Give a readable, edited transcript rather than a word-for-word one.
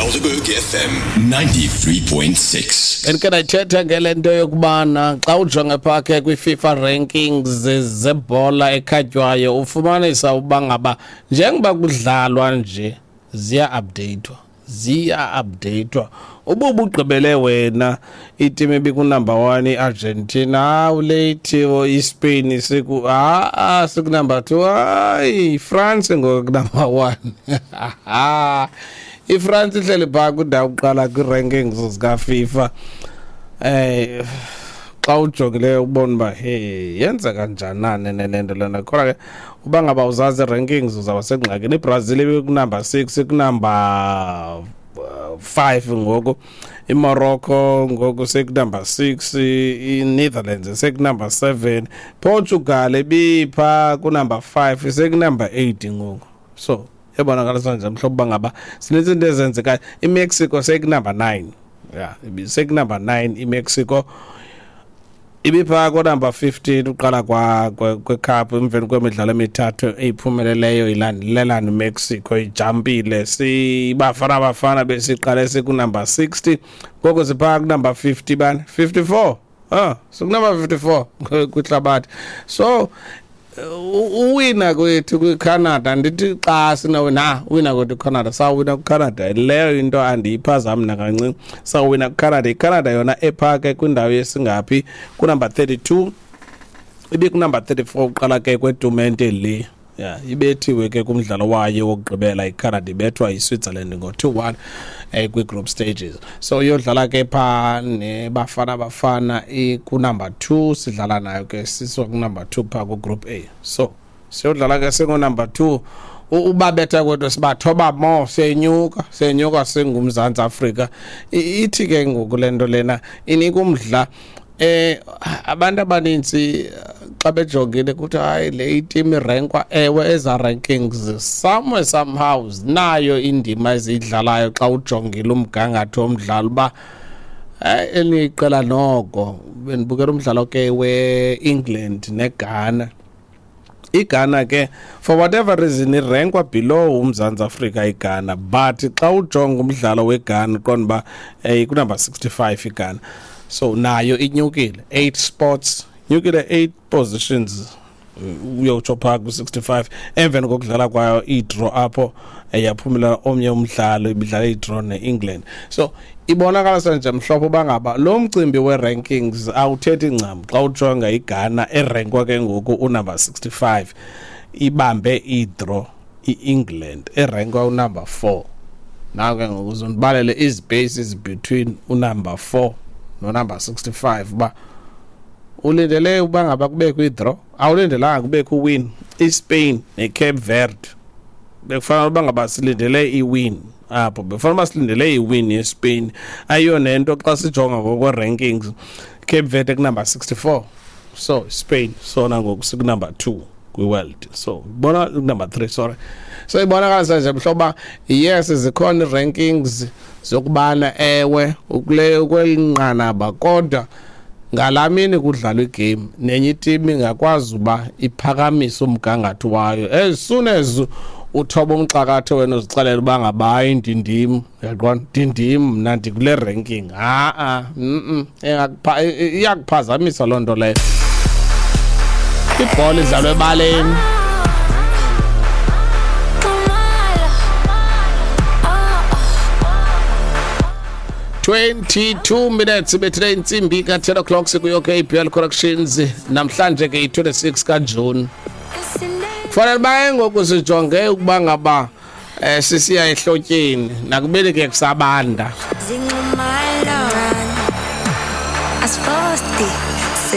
Helderberg FM 93.6. Bendike ndayithetha ke le nto yokubana xa ujonge phaa ke kwi-FIFA rankings zebhola ekhatywayo ufumanisa uba ngaba njengoba kudlalwa nje ziya-updeyithwa, ziya-updeyithwa. Uba ubugqibele wena itimu ebikunumber 1 iArgentina, hawu leyithi iSpain siku ha-a sikunumber 2, hayi iFrance ngoku kunumber 1. iFrance ihleli phaa kwindawo yokuqala kwii-rankings zikaFIFA. Xa ujongileyo ubona uba hey yenzeka njani na le nto lena. Kodwa ke uba ngaba uzazi ii-rankings uzawuba sengxakini. IBrazil ibikunumber 6, ikunumber 5 ngoku. IMorocco ngoku sekunumber 6, iNetherlands sekunumber 7, Portugal ibipha kunumber 5 sekunumber 8 ngoku. So yabonakala nje mhlobo uba ngaba sinintsi into ezenzekayo. IMexico sekunumber 9. Yeah, sekunumber 9 iMexico. Ibipha kunumber 15 uqala kwecup emveni kwemidlalo emithathu eyiphumeleleyo ilandelelana iMexico ijampile. Sibafana bafana besiqale sikunumber 60 ngoku sipha kunumber 50 bani 54. Sikunumber 54 kwihlabathi. So uwina kwethu kwiCanada, ndithi xa sinawina, uwina kwethu kwiCanada, sawina kwiCanada. Leyo into andiyiphazami nakancinci. Sawina kwiCanada. ICanada yona epha ke kwindawo yesingaphi, kunumber 32, ibikunumber 34 uqala ke kwetumente le. Yeah, ibethiwe ke kumdlalo wayo wokugqibela iCanada, ibethwa yiSwitzerland ngo-2-1 kwi-group stages. So iyodlala ke pha neBafana Bafana ikunumber 2, sidlala nayo ke siswa kunumber 2 pha ku-group A. So siyodlala ke singunumber 2. Ubabetha kwethu sibathoba mo, siyenyuka, siyenyuka singuMzantsi Afrika. Ithi ke ngoku le nto lena inika umdla. Abantu abanintsi xa bejongile kuthi hayi le iteam irenkwa, ewe eza rankings somewhere somehow zinayo indima eziyidlalayo xa ujongile umgangatho womdlalo uba elinye iqela noko. Bendibukela umdlalo ke we-England neGhana. iGhana ke for whatever reason irenkwa below uMzantsi Afrika iGhana, but xa ujonga umdlalo weGhana uqonda uba ikunumber 65 iGhana. So nayo inyukile 8 spots, inyukile 8 positions uyotsho phaa ku-65 emveni kokudlala kwayo i-draw apho yaphumela omnye umdlalo ibidlala i-draw ne-England. So ibonakala nje mhlophe uba ngaba lo mcimbi we-rankings awuthethi ncam xa ujonga iGhana erenkwa ke ngoku unumber 65 ibambe i-draw i-England erenkwa unumber 4. Nawe ke ngoku uzondibalele izipaces between unumber 4 nonumber 65 uba ulindele uba ngaba kubekho i-draw, awulindelanga kubekho uwin. iSpain neCape Verde bekufanele uba ngaba silindele iwin apho, bekufanele uba silindele iwin yeSpain. Ayiyo nento xa sijonga ngokwe-rankings, Cape Verde kunumber 64, so Spain sona ngoku sikunumber 2 kwi-world, so ibona number 3, sorry. So ibonakala nje mhlobo uba yes zikhona ii-rankings zokubana ewe ukule kweli nqanaba, kodwa ngalaa mini kudlalwa igame nenye itimu ingakwazi uba iphakamise umgangatho wayo. As soon as uthoba umxakatho wena uzixelela uba ngaba hayi ndindim, uyaqonda, ndindim mna ndikule ranking, ha-a, iyakuphazamisa loo nto leyo. Ibhola idlalwa ebaleni. 22 minutes ibethile intsimbi ka-10 o'clock sikuyo KBL Corrections. Namhlanje ke i-26 kaJune. Kufanele uba ngoku sijonge ukuba ngaba sisiya ehlotyeni nakubeni ke kusabanda. Zinxumalo. Asfosti.